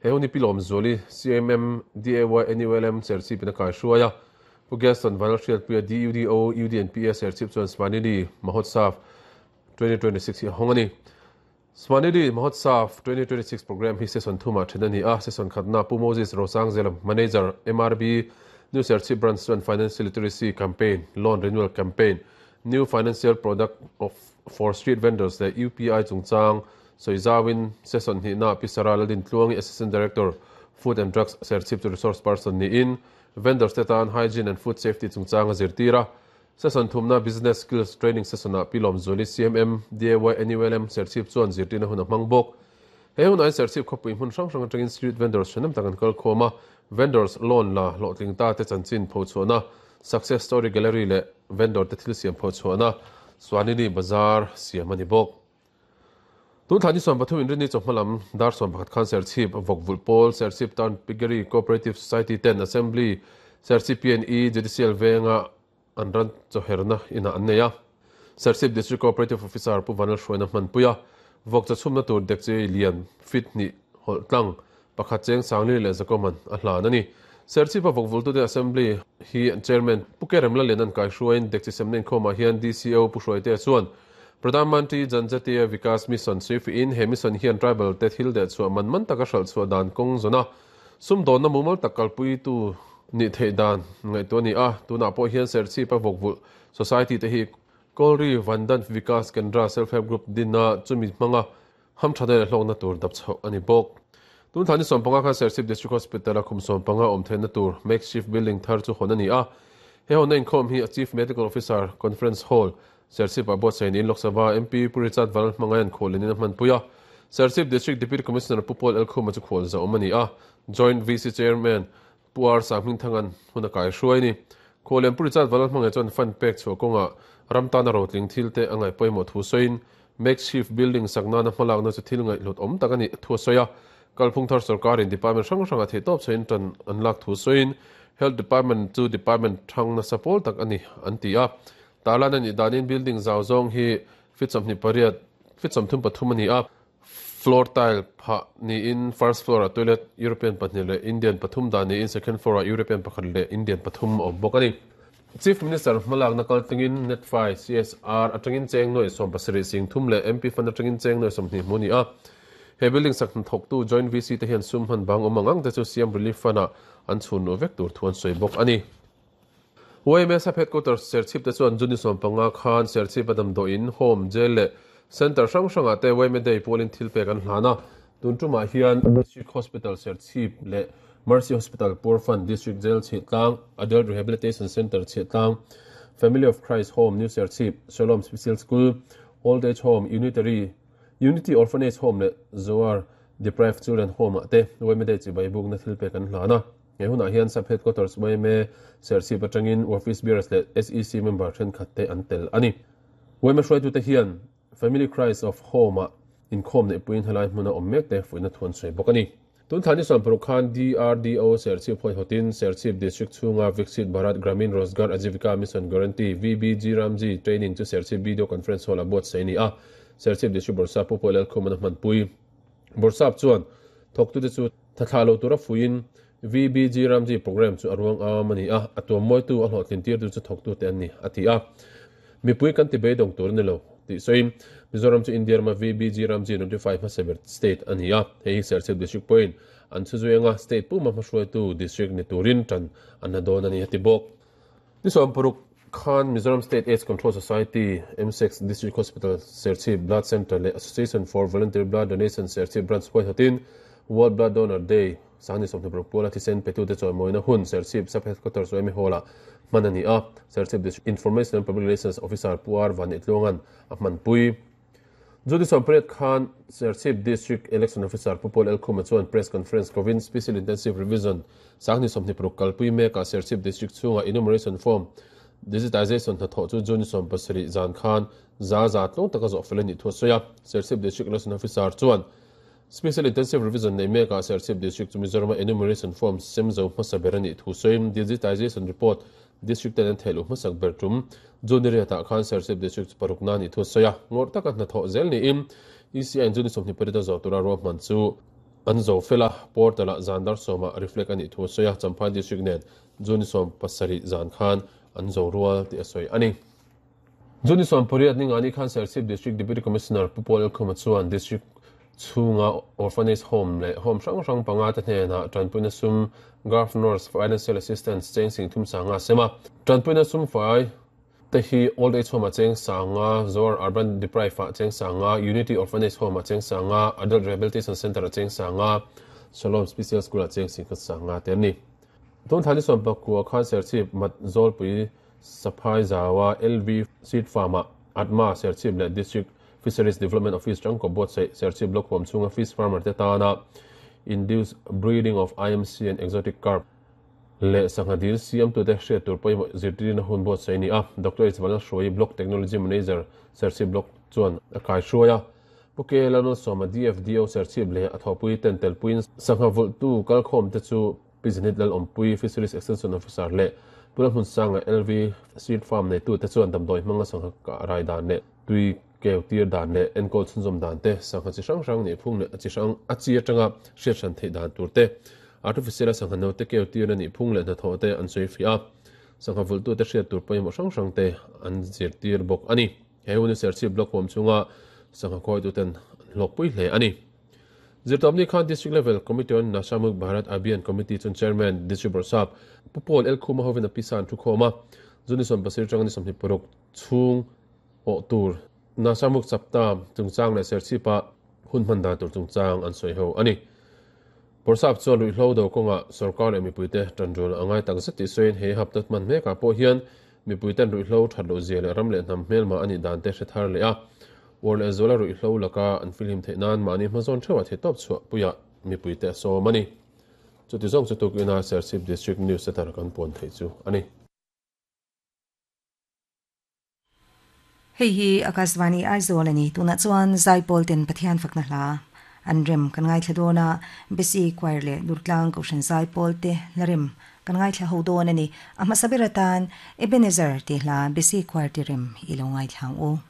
He hun hi Pi Lawmzuali, CMM, DAY NULM Serchhip in a kaihruai a. Pu Gaston Vanlalhriatpuia, DUDO, UDNPA Serchhip chuan Svanidhi Mahotsav 2026 hi a hawng a ni. Svanidhi Mahotsav 2026 programme hi session thumah then a ni a. Session khatna Pu Moses Rosangzela, Manager, MRB, New Serchhip Branch chuan Financial Literacy Campaign, Loan Renewal Campaign, New Financial Product of for Street Vendors leh UPI chungchang sawi zauin session hnihna Pi Sarah Laldintluangi, Assistant Director, Food and Drugs, Serchhip chu resource person niin vendors te tan Hygiene and Food Safety chungchang a zirtir a. Session thumna Business Skills Training session-ah Pi Lawmzuali, CMM, DAY NULM, Serchhip chuan zirtirna hun a hmang bawk. He hunah hian Serchhip khawpui hmun hrang hrang atangin street vendors ṭhahnem tak an kal khawm a, vendors loan la hlawhtling ta te chanchin phochhuahna, Success Story Gallery leh vendor te thil siam phochhuahna Swanini Bazar siam a ni bawk. Tun thla ni 13 inrinni chawhma lam dar 11 khan Serchhip Vawkvulh Pawl, Serchhip Town Piggery Cooperative Society ten Assembly, Serchhip PNE Judicial venga an ran chawherna inah an nei a. Serchhip District Cooperative Officer Pu Vanlalhruaina hmanpui a, vawk chawchhumna tur dekchi lian feet hnih hawlh tlang pakhat cheng Sangli leh Zakoman a hlan a ni. Serchhipa vawkvultute Assembly hi Chairman Pu Kerem Lalian an kaihruaiin dekchi semna inkhawmah hian DCO Pu Hruaitea chuan Pradhan Mantri Janjatiya Vikas Mission sawifihin he mission hian tribal te thil dehchhuah man man taka hralhchhuah dan kawng zawn a, sumdawnna mumal tak kalpuitu nih theih dan ngaihtuah a ni a. Tunah pawh hian Serchhipa vawkvulh Society te hi Kawlri Vandan Vikas Kendra Self Help Group dinna chumi hmanga Hamtha leh hlawkna tur dap chhoh a ni bawk. Tun thla ni 15 khan Serchhip District Hospital-a khum 15 awm theihna tur makeshift building thar chu hawn a ni a. He hawnna inkhawm hi a Chief Medical Officer Conference Hall, Serchhip-ah buatsaih niin Lok Sabha MP Pu Richard Val hmangaih an khual in a hmanpui a. Serchhip District Deputy Commissioner Pu Paul Elkhuma chu khual zauh awm a ni a. Joint VC Chairman Pu R Sanghmingthanga'n hun a kaihruai a ni. Khuallian Pu Richard Val hmangaih chuan fund pek chhuah kawngah ram tana rotling thil te a ngaih pawimawh thu sawiin makeshift building sak nana hmalakna chu thil ngaihhlut awm tak a nih thu a sawi a. Kalphung thar sorkarin department hrang hrangah theihtawp chhain tan an lak thu sawiin Health Department chu department thang nasa pawl tak a ni an ti a. Tarlan a nih danin building zau zawng hi feet 28, feet 33 a ni a. Floor tile phah niin first floor ah toilet European pahnih leh Indian pathum dah niin second floor ah European pakhat leh Indian pathum a awm bawk a ni. Chief Minister hmalakna kaltlingin Netfai CSR atangin cheng nuaih 70 sing thum leh MP Fund atangin cheng nuaih 20 hmu a ni a. He building sak hnathawktu Joint VC te hian sum hman bang awm ang ang te chu Siam Relief Fund ah an chhun luh vek tur thu an sawi bawk a ni. YMA Sub Headquarters Serchhip te chuan June 15 khan Serchhip a damdawiin, Home, Jail leh Centre hrang hrangah te YMA Day pualin thil pek an hlan a. Tun tumah hian District Hospital Serchhip leh Mercy Hospital Poor Fund, District Jail Chhiahtlang, Adult Rehabilitation Centre Chhiahtlang, Family of Christ Home New Serchhip, Shalom Special School, Old Age Home, Unitary Unity Orphanage Home leh Zoar Deprived Children Home ah te YMA Day chibai bukna thil pek an hlan a. He hunah hian Sub Headquarters yma Serchhip atangin Office Bearers leh SEC member thenkhat te an tel a ni. Yma hruaitute hian Family Christ of Home-ah inkhawm neihpuiin helai hmuna awm mek te fuihna thu an sawi bawk a ni. Tun thla ni 60 khan DRDO Serchhip hawihawtin Serchhip District chhunga Viksit Bharat Gramin Rozgar Ajivika Mission Guarantee, VBG Ramji, Training chu Serchhip Video Conference Hall-ah buatsaih a ni a, Serchhip District Bawrhsap Pu Paul Lalkhum-an a hmanpui. Bawrhsap chuan thawktute chu tha thlah lo tura fuiin VBG Ramji programme chu a ruang am a ni a, a tuammawitu a hlawhtlin tirtu chu thawktute an ni, a ti a. Mipui kan ti beidawng tur a ni lo, tih sawiin Mizoram chu India rama VBG Ramji notify hmasa ber state a ni a, hei hi Serchhip District pawhin an chhuzui anga state puma hmahruaitu district ni turin tan an la dawn a ni, a ti bawk. Ni 60 khan Mizoram State AIDS Control Society, MSEX, District Hospital Serchhip Blood Centre leh Association for Voluntary Blood Donation Serchhip Branch huaihawtin World Blood Donor Day Sangni 26 puala thisen petute chawimawina hun Serchhip Sub Headquarters Yma Hall-ah hman a ni a, Serchhip District Information and Public Relations Officer Pu R Vanitluanga'n a hmanpui. June 18 khan Serchhip District Election Officer Pu Paul Elkhuma chuan Press Conference kovin Special Intensive Revision Sangni 26 kalpui mekah Serchhip District chhunga Enumeration Form Digitization hnathawh chu June 17 zan khan za za tlawng taka zawh fel a nih thu a sawi a. Serchhip District Election Officer chuan Special Intensive Revision nei mekah Serchhip District chu Mizorama Enumeration Form sem zo hmasa ber a nih thu sawiin Digitization Report District ten an theih luh hmasak ber tum June riatah khan Serchhip District chu paruk na nih thu a sawi a, ngawrh taka hnathawh zel niin ECI in June 28 a zawh tura ruahman chu an zo fel a, portal-ah zan dar sawmah reflect a nih thu a sawi a, Champhai District nen June 17 zan khan an zo rual tih a sawi a ni. June 18 ningani khan Serchhip District Deputy Commissioner Pu Paul Elkhuma chuan District chhunga Orphanage Home leh Home hrang hrang panga te hnenah tanpuina sum Governor's Financial Assistance cheng sing thum sanga a sem a. Tanpuina sum fai te hi Old Age Home-ah cheng sanga, Zoar Urban Deprived-ah cheng sanga, Unity Orphanage Home-ah cheng sanga, Adult Rehabilitation Centre-ah cheng sanga, Shalom Special School-ah cheng sing khat sanga te an ni. Tun thla ni 19 khan Serchhip Mat Zawlpui Saphai Zaua LV Seed Farm-ah Atma Serchhip leh District Fisheries Development Office tangkaw buatsaih Serchhip Block huam chhunga fish farmer te tana Induced Breeding of IMC and Exotic Carp leh sangha dil siamtute hriat tur pawimawh zirtirna hun buatsaih a ni a. Doctor H Vanlalhruaii Block Technology Manager Serchhip Block chuan a kaihruai a. Pu K Lalmalsawma DFDO Serchhip leh a thawhpui ten telpuiin sangha vulhtu kalkhawmte chu Pi Zenith Lalawmpui, Fisheries Extension Officer leh Pu Lalhmunsanga LV Seed Farm neitute chuan damdawi hmanga sangha kah rai dan leh tui keu tir dan leh enkawl chhunzawm dan te, sangha chi hrang hrang nih phung leh a chi hrang a chi atanga hriat hran theih dan tur te, artificial a sangha note keu tirna nih phung leh hnathawh te an sawi fiah a, sangha vulhtute hriat tur pawimawh hrang hrang te an zirtir bawk a ni. He hun hi Serchhip Block huam chhunga sangha khawituten an hlawkpui hle a ni. Zirtawpni khan District Level Committee on Nasha Mukt Bharat Abhiyan Committee chuan Chairman, District Bawrhsap, Pu Paul L. Khuma hovin a pisa an thu khawm a, June 17 atanga ni 26 chhung awh tur Nasha Mukt Sapta chungchang leh Serchhipa hun hman dan tur chungchang an sawi ho a ni. Bawrhsap chuan ruihhlo do kawngah sorkar leh mipuite tanrual a ngai takzet tih sawiin he hapta hman mekah pawh hian mipuiten ruihhlo that loh zia leh ram leh hnam hmelma a nih dan te hre thar leh a. Uar leh zuala ruihhlo laka an filhim theih nan mahni hmazawn theuhah theihtawp chhuah puiah mipuite a sawm a ni. Chuti zawng chu tukin a Serchhip District News Center kan puan theih chu a ni. Hei hi Akashvani Aizawl a ni. Tunah chuan Zaipawl ten Pathian fakna hla an rem kan ngaithla dawn a, Besi Choir leh Durtlang Kohhran Zaipawl te hla rem kan ngaithla ho dawn a ni. A hmasa ber atan Ebenezer tih hla Besi Choir ti rem i lo ngaithla ang u.